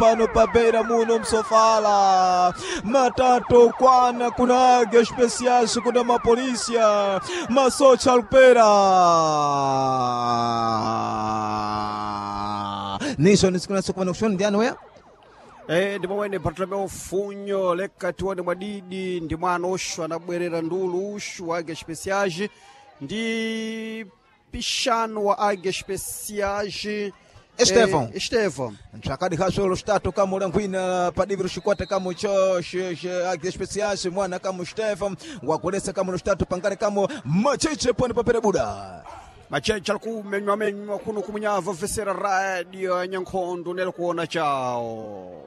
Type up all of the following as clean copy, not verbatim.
Pano pabeira muno msofala matatu kwana kuna águia especiais kuna mapolisia masocha alupera niso nisikunasokuvana kushoni ndiani weya. Ndi momwene Bartolomeu Funyo leka tione mwadidi ndi mwana uxu anabwerera ndulu uxu wa Águia Especiais ndi pixano wa Águia Especiais. Estevão. Estevão. Ntsvakadi khaswelo xitatu kamula nkhwina padiviro xikwata kamo cho águia especiais mwana kamo Stefan wagolesa kamo xitatu pangale kamo macheche pano papera buda. Macheche ali kumenywamenywa kuno kumunyava vesera radio ya nyankhondo nelo kuona chawo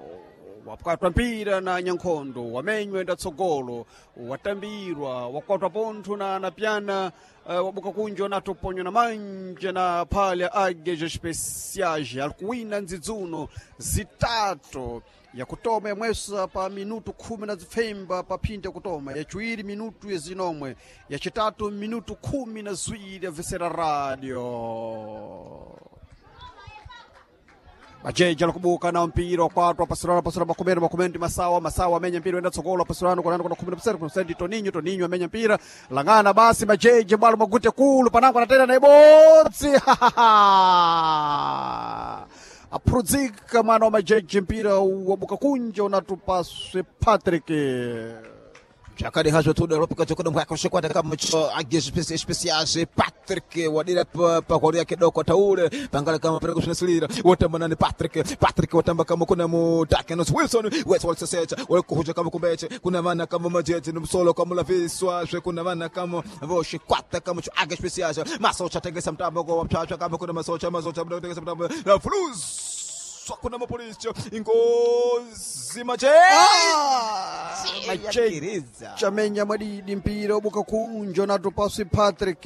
wapwatwa mpira na nyankhondo wamenywa enda tsogolo watambirwa wakwatwa pontho na pyana wabuka kunja natoponywa na manja na phalya Águias Especiais ali kuwina ndzidzuno zitatu yakutoma yamwesa pa minutu khumi na zipfemba pa phindi yakutoma yaciwiri minutu yazinomwe yacitatu minutu khumi na ziwiri yavesera radio. Majeji alikubuka na mpira wakwatwa pasurano pasurano makumene makumene ndi masawa masawa amenya mpira wenda tsogolo pasurano kunani kuna 10 kuna ndi Toninho Toninho amenya mpira langana basi majeji bwalo magute kulu panango anatera na ibodzi aphurudzika mwana wa majeji mpira wabuka kunja unatupaswe Patrick. Zvakadi hazvo tuda ropika chokoda mwako xikwata kamo cho águia especiais Patrick wadira pagwaro yake doko taure pangala kama pera kushinasilira watamba nani Patrick Patrick watamba kama kuna mu Dakenos Wilson wetsa walisesecha walikuhuja kama kumbeche kuna vana kama majeje nomsolo kama laviswa zve kuna vana kama voxikwata kama cho águia especiais masocha tengesa mtambo kwa mchacha kama kuna masocha masocha tengesa mtambo na flus kuna mapolisi ingozi majeje. Majeji chamenya mwadidi mpira wabuka kunja unatupaswe Patrick.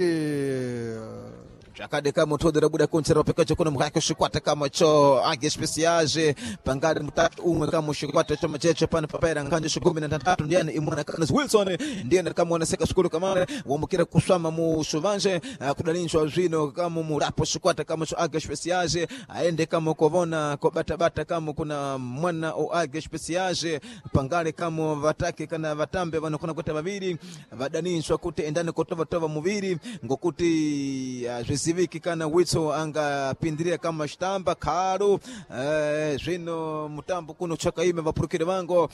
Zvakadeka mutodera buda kunzera pekacho kuno mukake xikwata kamo cho águia especiais pangari mutatu umwe kamo xikwata cho macheche pano papaira nkhanjo xikumi na ntanthatu ndiyani imwana Carlos Wilson ndiyena kamuoneseka xikulu kamale wambukira kuswama mu xuvanje kudalinzwa zwino kamo murapo xikwata kamo cho águia especiais aende kamo kovona kobatabata kamo kuna mwana o águia especiais pangale kamo vatake kana vatambe vanokona kuita vaviri vadaninzwa kuti endani kotovatova muviri ngokuti zviziviki kana witso angapindirira kama xitamba khalu zvino mutambo kuno chakaime vapurukire vango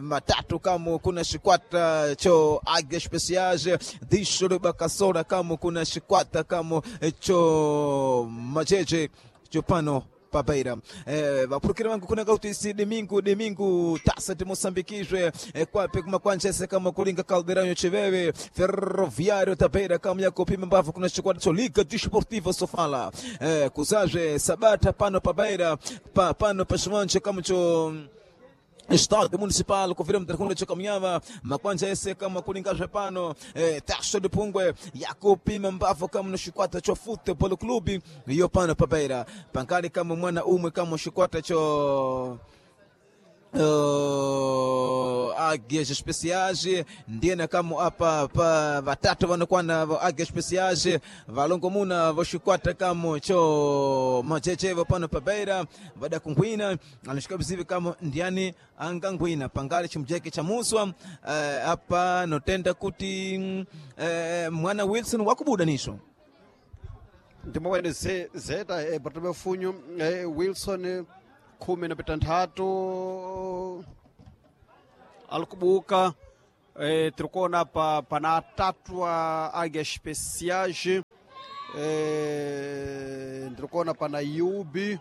matatu kamo kuna xikwata cho águia especiais dixo libakasola kamo kuna xikwata kamo cho majeje chopano pabeira vapurukire vangu kunanga kuti isi domingo domingo taça de moçambiquizwe kwape kumakwanjese kama kulinga caldeirão chiveve ferroviário da beira kama yakupima mbavu kuna chikwata cho liga desportiva sofala kuzazve sabata pano pabeira pano paxivanje kama cho Estádio Municipal, confirma tercunda chokamnyama makwanja ese kama kulinga zvepano taxa de pungwe yakupima mbavu kama no xikwata cho futebol clube iyo pano pabeira pankali kama mwana umwe kama xikwata cho águias especiais ndiyena kamo apa pa vatatu vanokwana va águias especiais valongomuna voxikwata kamo cho machechevo pano pabeira vada kungwina anixikavizivi kamo ndiyani angangwina pangali chimujeke cha muswa apa notenda kuti mwana Wilson wakubuda nisho ndi momwene zeta Bartolomeu Funyo Wilson khumi na pitanthatu alikubuka tiri kuona pa pana atatu a Águia Especiais ndiri kuona pana Yubi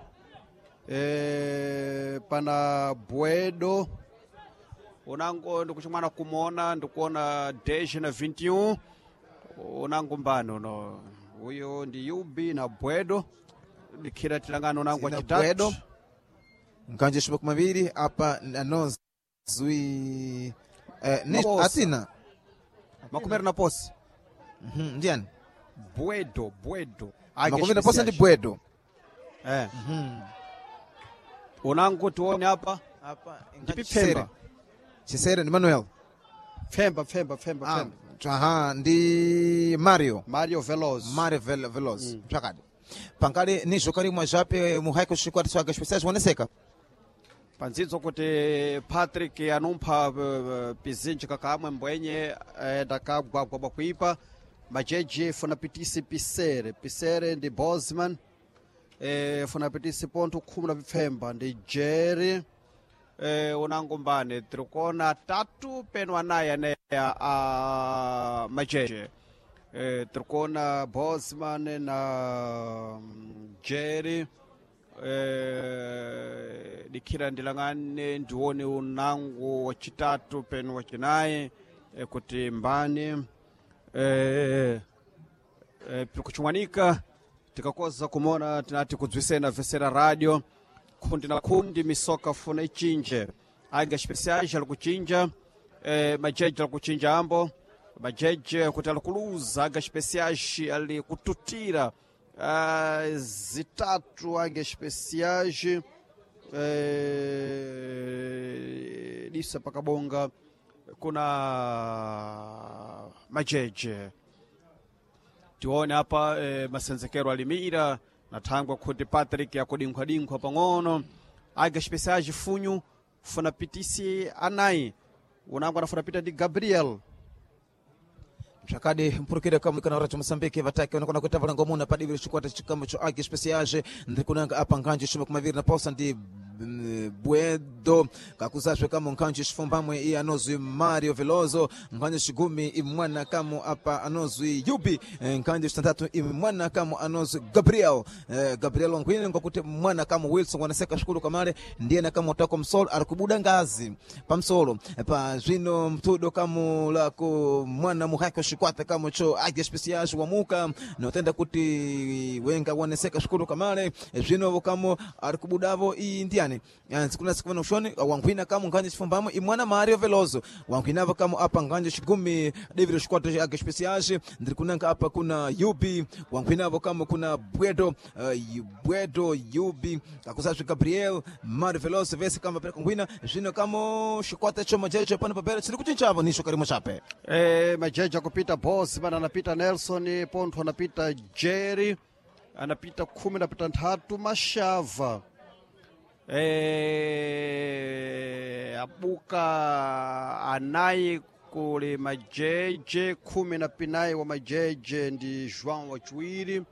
pana Buedo unango ndikuchimwana kumona ndikuona 10 na 21 unango mbani uno uyo ndi Yubi na Buedo dikhira tilangano unango Zina Buedo. achitatu. Nkanje xipoko maviri apa anonzwi Maposa. atina Makumeri na posi. Ndiyani Buedo Buedo Águia makumeri na posa ndi Especiais. Buedo. Unango tione apa apa ndipi Pfemba Chisere ndi Manuel. Pfemba Pfemba Pfemba Pfemba Aha ndi Mario. Mario Veloz. Mario Veloz zvakadi pangale nizvo karimwa zvape muhaiko xikwata cho águia especiais woneseka. Panzidzo kuti Patrick anumpha pizinji kakamwe mbwenye ndakagwagwa bwakuipa. Majeje funapitisi pisere pisere ndi Bosman, funapitisi pontho 15 ndi Jerry, unangombane tirikuona tatu peno anayi aneya a majeje, tirikuona Bosman na Jerry. Dikhira ndilang'ane ndione unango wachitatu peno wachinayi, kuti mbani, pikuchimwanika tikakoza kumona tinati kudzwisena vesera radio khundi na khundi misoka funa ichinje anga especiais ali kuchinja, majeje ali kuchinja ambo majeje kuti ali kuluza anga especiais ali kututira, zitatu anga especiais, disa pakabonga kuna majeje. Tione apa, masenzekero alimira na thangwa kuti Patrick akudinkhwadinkhwa pang'ono. Aga especiais funyu funa pitisi anayi unango anafuna pita ndi Gabriel. Zvakadi mpurukire kamukana racho Moçambique vatake vanokona kuita valangomuna padivi rechikwata chikamo cho Águia Especiais. Ndiri kunanga apa nganji shuma kumaviri na pausa ndi Buedo kakuzazve kamo nkhanji chifumbamwe iye anozwi Mario Veloso, nkhanji chigumi imwana kamo apa anozwi Yubi, nkhanji chitantatu imwana kamo anozwi Gabriel, Gabriel Ongwine ngokuti mwana kamo Wilson wanaseka shukuru kamale ndiye na kamo tako msolo ari kubuda ngazi pamsolo pa zvino mtudo kamo lako mwana muhaki wa chikwata kamo cho Águia Especiais wamuka notenda kuti wenga waneseka shukuru kamale. Zvino kamo ari kubudavo iyi ndiani kuna sikuvana ushoni wangwina kamo nganje chifumbamo imwana Mario Veloso wangwinavo kamo apa nganje chigumi David chikwata cha Águia Especiais. Ndiri kunanga apa kuna Yubi wangwinavo kamo kuna Bwedo, Bwedo Yubi akusazvi Gabriel Mario Veloso vese kama pera kungwina. Zvino kamo chikwata cho majeje pano papera chiri kuchinchavo nisho karimo chape. Majeje akupita Bosman anapita Nelson pontho anapita Jerry anapita 13 Mashava, abuka anayi kuli majeje 14 wa majeje ndi João wachiwiri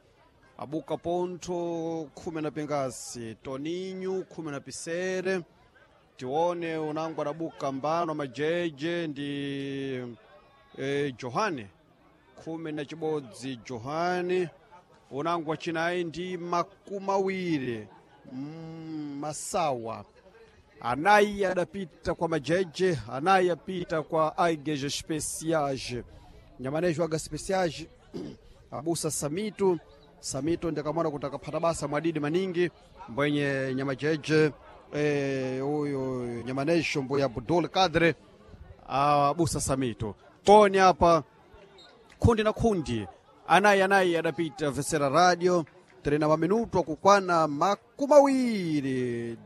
abuka pontho 10 pingasi Toninho 10 pisere. Tione unango adabuka mbano majeje ndi Johane 11 Johane unango wachinayi ndi 20, Masawa anayi adapita kwa majeje anayi apita kwa Águias Especiais nyamanejo Águias Especiais abusa Samito Samito ndikamona kuti akaphata basa mwadidi maningi mbwenye nyamajeje, uyu nyamanejo mbuya Abdul Kadre abusa Samito toni apa khundi na khundi anayi anayi adapita vesera radio terena maminuto akukwana 20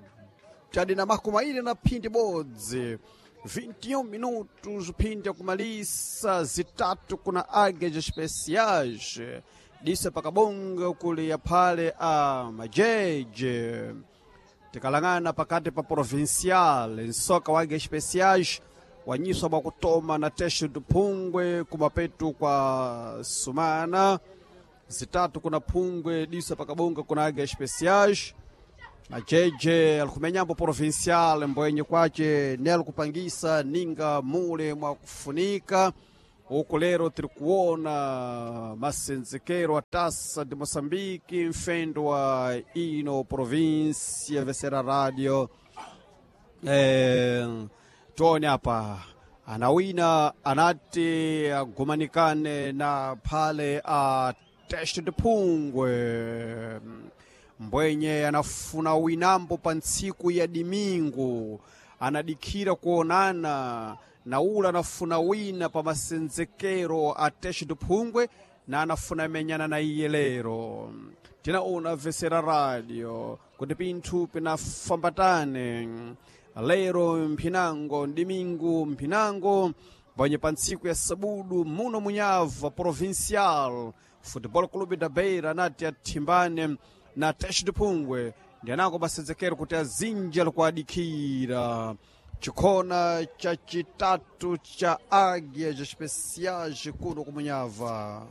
tadi na 21 21 minutos phindi akumalisa zitatu kuna Águias Especiais disa pakabonga kuli yaphale a majeje. Tikalang'ana pakati pa provincial nsoka wa Águias Especiais wanyiswa bwakutoma na tesho duphungwe kumapetu kwa sumana zitatu kuna phungwe disa pakabonga kuna Águias Especiais. Majeje alikumenyambo provincial mbwenye kwace nelo kupangisa ninga mule mwakufunika uku. Lero tiri kuona masenzekero a Taça de Moçambique mfendo wa ino província vesera radio, tione apa anawina anati agumanikane na phale a teste de phungwe mbwenye anafuna winambo pa ntsiku ya dimingu anadikhira kuonana na ula anafuna wina pa masenzekero a teste de phungwe na anafuna menyana na iye. Lero tinaona vesera radio kuti pinthu pinafambatane lero mphinango dimingu mphinango mbwenye pa ntsiku ya sabudu muno munyava Provincial Football Clube da Beira anati athimbane na Teste de Phungwe. Ndi anango masenzekero kuti azinji alikuadikira chikhona cha chitatu cha Águias Especiais kuno kumunyava.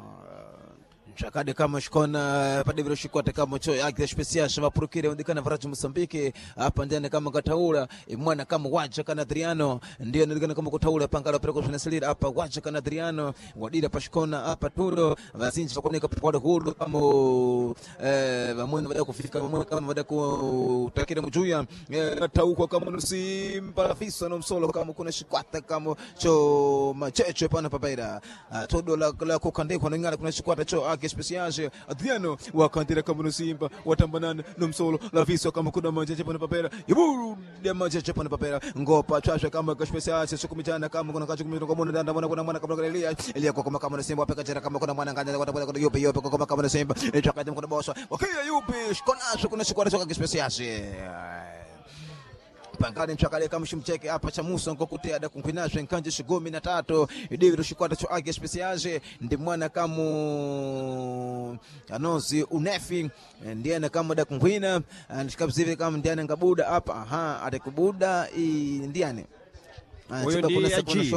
Zvakade kama xikona padevero xikwata kama cho Águias Especiais vapurukire vandikana varaji Moçambique apa ndiani kama kataula mwana kama waja kana Adriano ndiye ndikana kama kutaula pangala pereko zvinasilira apa waja kana Adriano wadira pashikona apa turo vazinji vakoneka pwada huru kama vamweni vada kufika vamweni kama vada kutakira mujuya taukwa kama nusimba visa no msolo kama kuna xikwata kama cho macheche pana papaira todo la kukandikwa ningala kuna xikwata cho Águias Especiais Adriano wakandira kama nusimba watambanana nomsolo laviswa kama kuna macheche pana papera ibude macheche pana papera ngopa chasha kama Especiais sukumichana kama kuna kachu kumina kama ndanda mwana kuna mwana kama kuna Elia Elia kwa kama kama nusimba wapeka chera kama kuna mwana nganja kwa kwa yupi yupi kwa kama kama nusimba chakati kuna bosa wakia yupi shikona kuna shikwata cho Águias Especiais pangani mchakale kama shimcheke apa cha Musa ngokuti ada kunkwinazwe nkanje shigumi na tatu idiviro shikwata cho Águias Especiais ndi mwana kamu anozi unefi ndiye kama da kunkwina ndikabzive kama ndiye ngabuda apa aha atikubuda ndiane Uyo ndi Aji.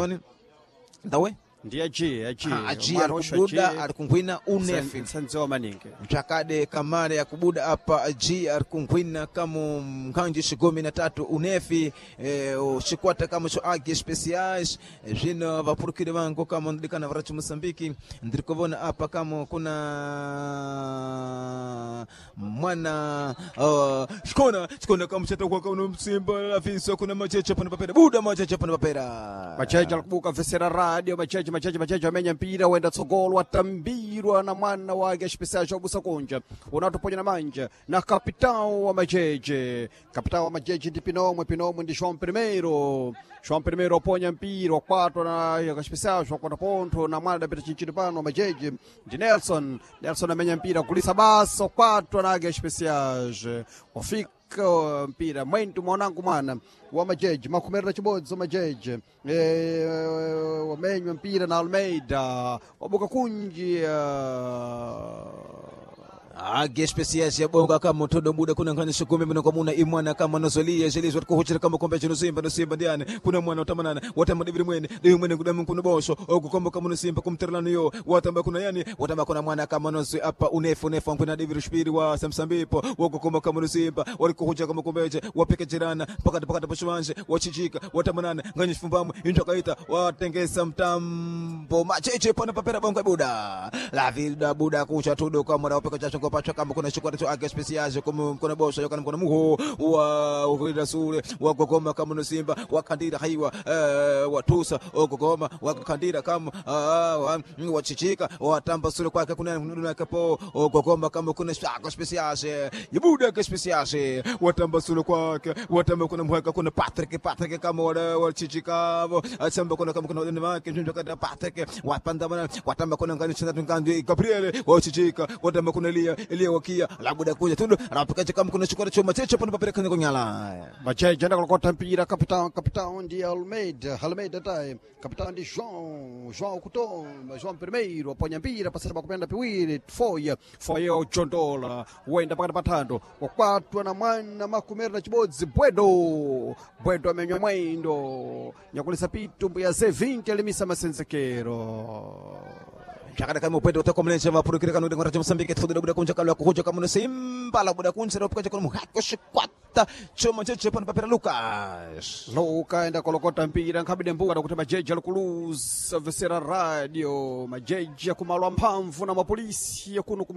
ndawe Ndi Aji, Aji. Aji arikubuda arikunkwina unefi Nsanziwa maningi. mchakade kamare ya kubuda apa g arikunkhwina kamo nkhanji xigumi na tatu unefi xikwata kamo xo Águias Especiais zvino vapurukiri vangu kamo ndidikana varachi Moçambique ndiri kuvona apa kamo kuna mwana xikona xikona kamo xatakuwa kamo msimba laviswa kuna macheche pana papera buda macheche pana papera Macheche alikubuka vesera radio macheche macheche macheche amenya mpira wenda tsogolo atambirwa na mwana wa Águias Especiais wabusa kunja unatoponya na manja na kapitão wa macheche kapitão wa macheche ndi Pinomwe Pinomwe ndi João Primeiro João Primeiro oponya mpira wakwatwa na Águias Especiais wakwata pontho na mwana adapita chinchino pano wa macheche ndi Nelson Nelson amenya mpira kulisa basa wakwatwa na Águias Especiais wafika mpira mwentu mwanangu mwana wa majeji makhumera na chibodzi wa majeji wamenywa mpira na Almeida wabuka kunji Águias Especiais yabonga kama todo muda kuna ngani shukumi mino kwa muna imwana kama nozolia jelizwa tukuhuchira kama kombe chino simba no simba ndiane kuna mwana utamanana watamba dibiri mwene dibi mwene kudamu kuno bosho okukomba kama no simba kumterlano yo watamba kuna yani watamba kuna mwana kama nozi apa unefu unefu kuna dibiri shpiri wa samsambipo wokukomba kama no simba walikuhuchira kama kombeje wapekechirana pakati pakati pashiwanje wachichika watamanana ngani shifumbamwe injwakaita watengesa mtambo macheche pana papera bonga buda la vida buda kucha tudo kama na wapeka chacho pacha kama kuna shikwata cho Águias Especiais como kuna bosa yokana kuna muho wa ukulira sule wa gogoma kama no simba wakandira haiwa watusa ogogoma wakandira kama wachichika watamba sule kwake kuna kuna kapo ogogoma kama kuna Águias Especiais ibuda Águias Especiais watamba sule kwake watamba kuna muhaka kuna Patrick Patrick kama wala wachichika achamba kuna kama kuna wadeni wake njoo kada Patrick wapanda bana watamba kuna ngani chanda ngani Gabriel wachichika watamba kuna Elia Elia wakia labuda kuja tundu rapikaje kama kuna chukua chuma cheche pana papere kwenye kunyala macheche anakolokota mpira kapitão kapitão ndi Almeida Almeida taye kapitão ndi João João Kutoma João Primeiro aponya mpira pasata pakupenda piwiri foya foya ujondola wenda pakati pathando wakwatwa na mwana makumera na chibodzi Bwedo Bwedo amenywa mwendo nyakulisa pitu mbuya Z20 alimisa masenzekero chakada kama upendo utako mlenje mapurukire kanu ngora Mozambique tudo buda kunja kalwa kuhuja kama simba la buda kunja ropuka chakona muhako shikwata choma cheche pana papera Lucas Luka enda kolokota mpira nkhabide mbuka kuti majeji alikuluza vesera radio majeji akumalwa mphamvu na mapolisi yakuno ku